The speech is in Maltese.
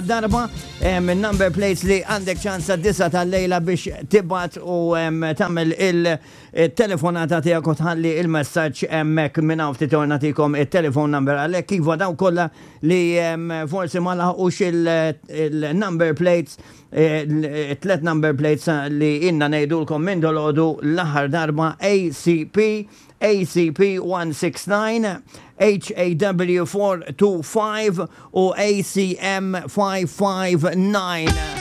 Darba number plates li għandek ċans disa tal-lejla biex tibgħat u tagħmel il-telefonata tiegħek u tħalli il-messaġġ hemmhekk minn hawn ftit nagħtikom it-telephone number għalhekk iva dawn kollha li forsi ma laħqux il-number plates tlet number plates li inna ngħidulkom minn dolodu l-aħħar darba ACP ACP 169, HAW 425 u ACM 559.